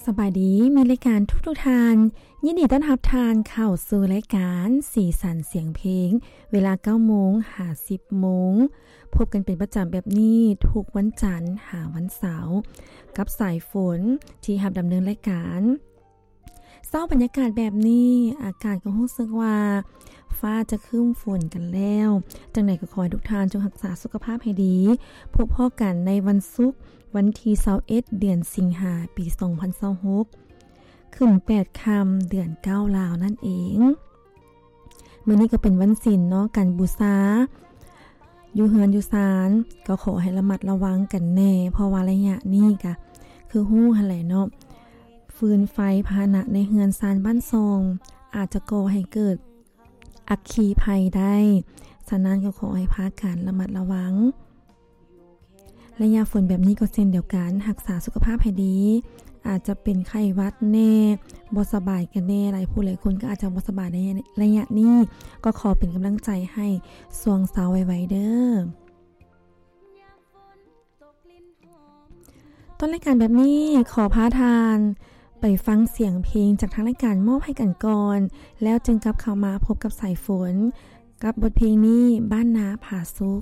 ສະບາຍດີ ມິດລາຍການທຸກໆທ່ານ, ຍິນດີຕ້ອນຮັບທ່ານເຂົ້າສູ່ລາຍການສີສັນສຽງເພງ ເວລາເກົ້າໂມງຫາສິບໂມງ. ພົບກັນເປັນປະຈຳແບບນີ້ທຸກວັນຈັນຫາວັນເສົາ ກັບສາຍຝົນທີ່ຮັບດຳເນີນລາຍການ. ເຊົ້າບັນຍາກາດແບບນີ້ ອາກາດກໍຮູ້ສຶກວ່າຟ້າຈະຄຶ້ມຝົນກັນແລ້ວ. ຈັ່ງໃດກໍຂໍໃຫ້ທຸກທ່ານຈົ່ງຮັກສາສຸຂະພາບໃຫ້ດີ. ພົບພໍ້ກັນໃນວັນສຸກ ວັນທີຊາວເອັດ ເດືອນສິງຫາ ປີສອງພັນຊາວຫົກ ຂຶ້ນແປດຄ່ຳ ເດືອນເກົ້າລາວນັ້ນເອງ. ມື້ນີ້ກໍເປັນວັນສິນເນາະ ການບູຊາ ຢູ່ເຮືອນຢູ່ຊານກໍຂໍໃຫ້ລະມັດລະວັງກັນແດ່ ເພາະວ່າໄລຍະນີ້ກະຄືຮູ້ຫັ້ນແຫຼະເນາະ ຟືນໄຟພາຫະນະໃນເຮືອນຊານບ້ານຊ່ອງ ອາດຈະກໍ່ໃຫ້ເກີດອັກຄີໄພໄດ້. ສະນັ້ນກໍຂໍໃຫ້ພາກັນລະມັດລະວັງ. ໄລຍະຝົນແບບນີ້ກໍເຊັ່ນດຽວກັນ ຮັກສາສຸຂະພາບໃຫ້ດີ. ອາດຈະເປັນໄຂ້ຫວັດແດ່ ບໍ່ສະບາຍກັນແດ່ ຫຼາຍຜູ້ຫຼາຍຄົນກໍອາດຈະບໍ່ສະບາຍໃນໄລຍະນີ້. ກໍຂໍເປັນກຳລັງໃຈໃຫ້ຊ່ວງເຊົາໄວໆເດີ້. ຕົ້ນລາຍການແບບນີ້ ຂໍພາທ່ານໄປຟັງສຽງເພງຈາກທາງລາຍການມອບໃຫ້ກັນກ່ອນ ແລ້ວຈຶ່ງກັບເຂົ້າມາພົບກັບສາຍຝົນ ກັບບົດເພງນີ້ ບ້ານນາຜາສຸກ.